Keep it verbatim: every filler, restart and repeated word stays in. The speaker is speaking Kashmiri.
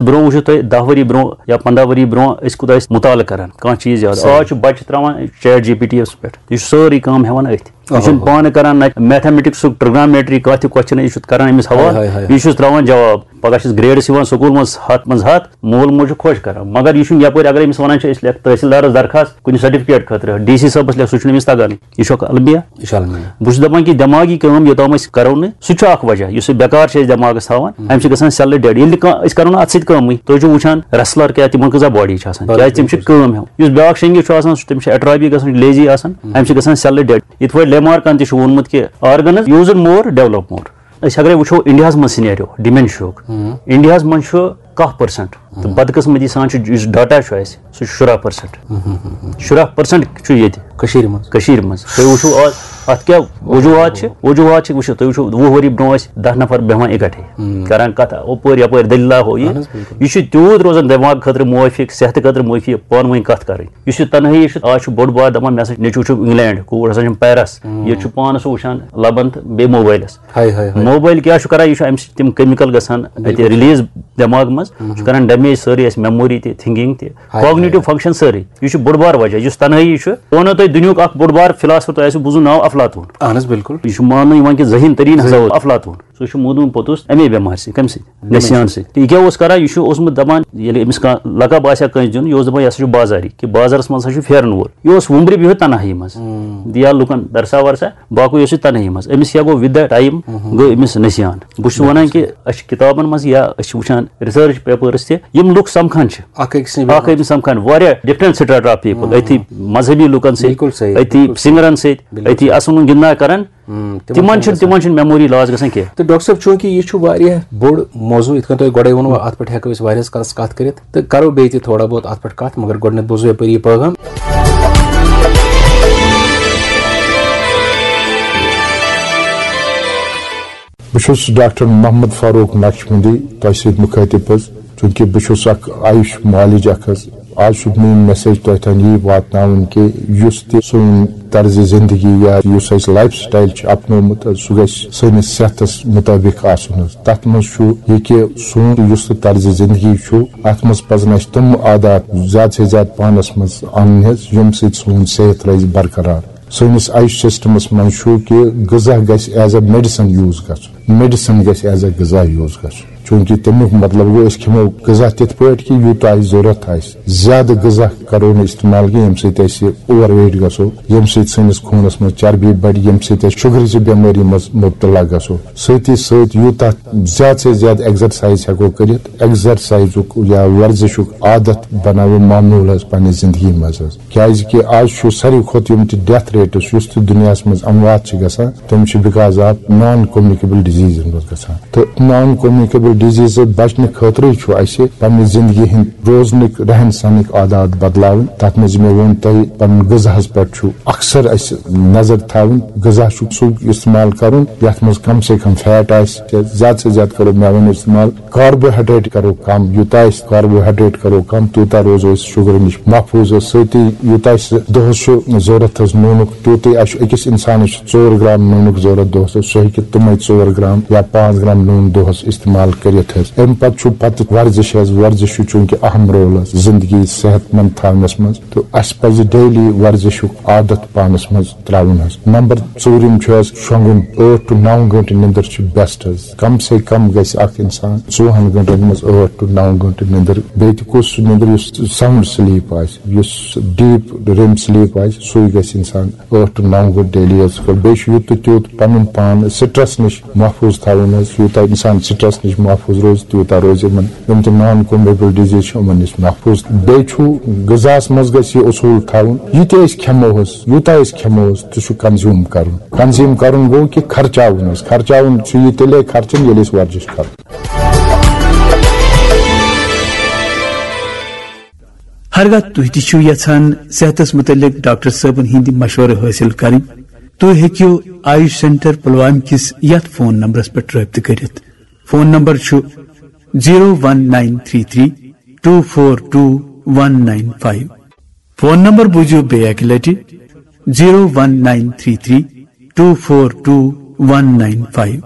برونٛہہ وٕچھِو تُہۍ، دَہ ؤری برونٛہہ یا پنٛداہ ؤری برونٛہہ ٲسۍ کوٗتاہ ٲسۍ مُطالعہٕ کران کانٛہہ چیٖز یاد۔ آز چھُ بچہِ ترٛاوان ChatGPT یَس پٮ۪ٹھ، یہِ چھُ سٲرٕے کٲم ہٮ۪وان أتھۍ۔ یہِ چھُنہٕ پانہٕ کران، نہ میتھمیٹکسُک، ٹرگنومیٹری، کانٛہہ تہِ کوسچن، یہِ چھُ کران أمِس حوالہٕ، ہاے، ہاے، ہاے۔ یہِ چھُس ترٛاوان جواب۔ پگاہ چھُس گریڈس یِوان سکوٗل منٛز ہَتھ منٛز ہَتھ، مول موج چھُ خۄش کران، مگر یہِ چھُنہٕ یپٲرۍ، اگر أمِس ونان چھِ أسۍ لیکھ تحصیلدارس درخواست کُنہِ سرٹیفکیٹ خٲطرٕ، ڈی سی صٲبس لیکھ، سُہ چھُنہٕ أمِس تگانٕے۔ یہِ چھُ اکھ المیہ۔ یہِ چھُ المیہ۔ بہٕ چھُس دپان کہِ دٮ۪ماغی کٲم یوٚتام أسۍ کرو نہٕ، سُہ چھُ اکھ وجہ یُس یہِ بیکار چھِ أسۍ دٮ۪ماغس تھاوان، امہِ سۭتۍ گژھان cell dead۔ ییٚلہِ نہٕ کانٛہہ، أسۍ کرو نہٕ اتھ سۭتۍ کٲمٕے۔ تُہۍ چھِو وٕچھان wrestler کیٛاہ، تِمن کۭژاہ باڈی چھِ آسان، بِلکُل، کیٛازِ تِم چھِ بِلکُل۔ کٲم ہٮ۪وان۔ یُس بیٛاکھ شنگی چھُ آسان، سُہ، تٔمِس چھِ ایٹرابی گژھان، لیزی آسان، امہِ سۭتۍ گژھان cell dead۔ یِتھ پٲٹھۍ لیمارکن تہِ چھُ ووٚنمُت کہِ organs use more, develop more۔ أسۍ اگرے وٕچھو انڈیاہس منٛز سینیریو ڈیمینشیاہُک، انڈیاہس منٛز چھُ کاہ پٔرسنٹ، تہٕ بدقسمتی سان چھُ یُس ڈاٹا چھُ اَسہِ، سُہ چھُ شُراہ پٔرسنٹ۔ شُراہ پٔرسنٹ چھُ ییٚتہِ کٔشیٖرِ منٛز۔ کٔشیٖرِ منٛز۔ تُہۍ وٕچھِو آز اَتھ کیٛاہ وجوٗہات چھِ؟ وجوٗہات چھِ، وٕچھِو، تُہۍ وٕچھِو، وُہ ؤری برونٛہہ ٲسۍ دَہ نفر بیٚہوان اِکٹھے، کران کَتھ، ہُپٲرۍ یَپٲرۍ دٔلیٖلہ ہُہ یہِ۔ اہن حظ، بِلکُل۔ یہِ چھُ تیوٗت روزان دٮ۪ماغ خٲطرٕ موٲفِق، صحتہٕ خٲطرٕ موٲفِق، پانہٕ ؤنۍ کَتھ کَرٕنۍ۔ یُس یہِ تنہٲیی چھُ، آز چھُ بوٚڑ بار دَپان، مےٚ ہسا چھُ نیٚچوٗ چھُ انگلینڈ، کوٗر ہسا چھَم پیرس، ییٚتہِ چھُ پانَس سُہ وٕچھان لبن تہٕ بیٚیہِ موبایلَس۔ ہاے، ہاے، ہاے۔ موبایل کیٛاہ چھُ کران؟ یہِ چھُ اَمہِ سۭتۍ تِم کیمِکل گژھان اَتہِ بِلکُل۔ ریلیٖز دٮ۪ماغ منٛز، چھُ کران ڈیمیج سٲرٕے اَسہِ، میموری تہِ، تھنکنگ تہِ، ہاے، ہاے، کاگنیٹو ہاے۔ فنکشن سٲرٕے۔ یہِ چھُ بوٚڑ بار وجہ، یُس تنہٲیی چھُ۔ بہٕ وَنو تۄہہِ دُنیُہُک اکھ بوٚڑ بار فلاسفر، تۄہہِ آسِوٕ بوٗزمُت ناو افلاطون۔ اہن حظ، بِلکُل۔ یہِ چھُ ماننہٕ یِوان کہِ ذہین تریٖن ہسا اوس افلاطون۔ سُہ چھُ موٗدمُت پوٚتُس اَمے بٮ۪مارِ سۭتۍ۔ کَمہِ سۭتۍ؟ نسیان سۭتۍ۔ تہٕ یہِ کیٛاہ اوس کران؟ یہِ چھُ اوسمُت دَپان، ییٚلہِ أمِس کانٛہہ لقب آسہِ ہا کٲنٛسہِ دیُن، یہِ اوس دَپان، یہِ ہسا چھُ بازاری، کہِ بازرَس منٛز ہسا چھُ پھیرَن وول۔ یہِ اوس وُمبرِ بِہِتھ تنہایی منٛز۔ دِیا لُکَن درسا ورسا، باقٕے اوس یہِ تنہایی منٛز۔ أمِس کیٛاہ گوٚو؟ With the time گوٚو أمِس نسیان۔ بہٕ چھُس وَنان کہِ أسۍ چھِ کِتابَن منٛز یا أسۍ چھِ وٕچھان research papers تہِ، یِم لُکھ سَمکھان چھِ۔ اَکھ أکِس نِش اَکھ أکِس سَمکھان، واریاہ different strata of people، أتھی مذہبی لُکَن سۭتۍ، بِلکُل صحیح، أتھی بِلکُل صحیح۔ سِنٛگرَن سۭتۍ، بِلکُل أتھی صحیح۔ اَسُن گِنٛدنا کران۔ ہم، تِمن تِمن چھُنہٕ چھُنہٕ، گژھان۔ تِمن چھُنہٕ memory loss گژھان کینٛہہ۔ تہٕ ڈاکٹر صٲب، چوٗنٛکہِ یہِ چھُ واریاہ بوٚڑ موضوع، یِتھ کٔنۍ تۄہہِ گۄڈَے ووٚنوُ، اَتھ پٮ۪ٹھ ہٮ۪کو أسۍ واریاہَس کالَس کَتھ کٔرِتھ، تہٕ کَرو بیٚیہِ تہِ تھوڑا بہت اَتھ پٮ۪ٹھ کَتھ، مگر گۄڈٕنٮ۪تھ بوزو یَپٲرۍ یہِ پیغام۔ بہٕ چھُس ڈاکٹر محمد فاروق نقشبندی تۄہہِ سۭتۍ مُخٲطِب حظ، چوٗنٛکہِ بہٕ چھُس اکھ آیُش معالج اکھ حظ۔ آز چھُ میٲنۍ message تۄہہِ تام یی واتناوُن کہِ یُس تہِ سون طرزِ زندگی یا یُس اَسہِ life style چھُ اپنومُت، سُہ گژھِ سٲنِس صحتس مُطٲبِق آسُن حظ۔ تتھ منٛز چھُ یہِ کہِ سون یُس تہِ طرزِ زندگی چھُ، اتھ منٛز پزن اَسہِ تِم عادات زیادٕ سے زیادٕ پانس منٛز انٕنۍ حظ، ییٚمہِ سۭتۍ سون صحت روزِ برقرار۔ سٲنِس آیُش سسٹمس منٛز چھُ کہِ غذا گژھِ as a medicine use گژھُن، medicine گژھِ as a غذا use گژھُن۔ چوٗنٛکہِ تَمیُک مطلب گوٚو، أسۍ کھٮ۪مو غذا تِتھ پٲٹھۍ کہِ یوٗتاہ اَسہِ ضروٗرت آسہِ۔ زیادٕ غذا کرو نہٕ استعمال کینٛہہ، ییٚمہِ سۭتۍ أسۍ overweight گژھو، ییٚمہِ سۭتۍ سٲنِس خوٗنَس منٛز چربی بڑِ، ییٚمہِ سۭتۍ أسۍ شُگرٕچہِ بٮ۪مٲری منٛز مُبتلا گژھو۔ سۭتی سۭتۍ یوٗتاہ زیادٕ سے زیادٕ exercise ہٮ۪کو کٔرِتھ، exerciseُک یا ورزشُک عادت بناوو معموٗل حظ پننہِ زندگی منٛز حظ۔ کیازِ کہِ آز چھُ ساروی کھۄتہٕ یِم تہِ death rates، یُس تہِ دُنیاہَس منٛز اموات چھِ گژھان، تِم چھِ because of non communicable diseaseن منٛز گژھان۔ تہٕ non communicable diseaseہٕ بچنہٕ خٲطرٕ چھُ اَسہِ پننہِ زندگی ہٕنٛدۍ روزنٕکۍ، رہن سہنٕکۍ عادات بدلاوٕنۍ۔ تَتھ منٛز مےٚ ووٚن تۄہہِ، پنُن غذاہَس پٮ۪ٹھ چھُ اکثر اَسہِ نظر تھاوٕنۍ۔ غذا چھُ سُہ استعمال کرُن یَتھ منٛز کم سے کم fat آسہِ، تہٕ زیادٕ سے زیادٕ کرو مٮ۪وَن استعمال۔ Carbohydrate کرو کم، یوٗتاہ أسۍ carbohydrate کرو کم، تیوٗتاہ روزو أسۍ شُگرٕ نِش محفوٗظ۔ سۭتی یوٗتاہ اَسہِ دۄہَس چھُ ضوٚرَتھ حظ نوٗنُک، تیوٗتٕے اَسہِ چھُ أکِس اِنسانَس چھُ ژور گرام نوٗنُک ضوٚرَتھ دۄہَس، سُہ ہیٚکہِ تِمَے ژور گرام یا پانٛژھ گرام نوٗن دۄہَس استعمال کٔرِتھ حظ۔ اَمہِ پَتہٕ چھُ پَتہٕ ورزش حظ، ورزش چھُ چوٗنٛکہِ اَہَم role حظ زِندگی صحت مند تھاونَس منٛز، تہٕ اَسہِ پَزِ daily ورزشُک عادت پانَس منٛز ترٛاوُن حظ۔ نمبر ژوٗرِم چھُ حظ شۄنٛگُن، ٲٹھ to نَو گٲنٛٹہٕ نِندٕر چھِ best حظ۔ کم سے کم گژھِ اکھ انسان ژوٚوُہن گٲنٛٹن منٛز ٲٹھ to نَو گٲنٛٹہٕ نِندٕر، بیٚیہِ تہِ کُس سُہ نِندٕر یُس sound sleep آسہِ، یُس deep REM sleep آسہِ، سُے گژھِ انسان ٲٹھ to نَو گٲنٛٹہٕ daily حظ۔ بیٚیہِ چھُ یُتھ تہٕ تیُتھ پنُن پان stress نِش محفوٗظ تھاوُن حظ۔ یوٗتاہ انسان stress نِش محفوٗظ روزِ، تیوٗتاہ روزِ یِمن یِم تہِ non communicable disease چھِ، یِمن نِش محفوٗظ۔ بیٚیہِ چھُ غذاہَس منٛز گژھِ یہِ اصوٗل تھاوُن، یہِ تہِ أسۍ کھٮ۪مو حظ، یوٗتاہ أسۍ کھٮ۪مو حظ، تہِ چھُ consume کرُن۔ Consume کرُن گوٚو کہِ خرچاوُن حظ۔ خرچاوُن چھُ یہِ تیٚلے خرچُن، ییٚلہِ أسۍ ورزش کرو۔ ہرگاہ تُہۍ تہِ چھِو یژھان صحتس متعلق ڈاکٹر صٲبن ہٕنٛدۍ مشورٕ حٲصِل کرٕنۍ، تُہۍ ہیٚکِو آیوش سینٹر پلوامہِ کِس یتھ فون نمبرس پٮ۪ٹھ رٲبطہٕ کٔرِتھ۔ فون نمبر چھُ zero one nine three three two four two one nine five۔ Phone number بوٗزِو بیٚیہِ اَکہِ لَٹہِ، zero one nine three three two four two one nine five۔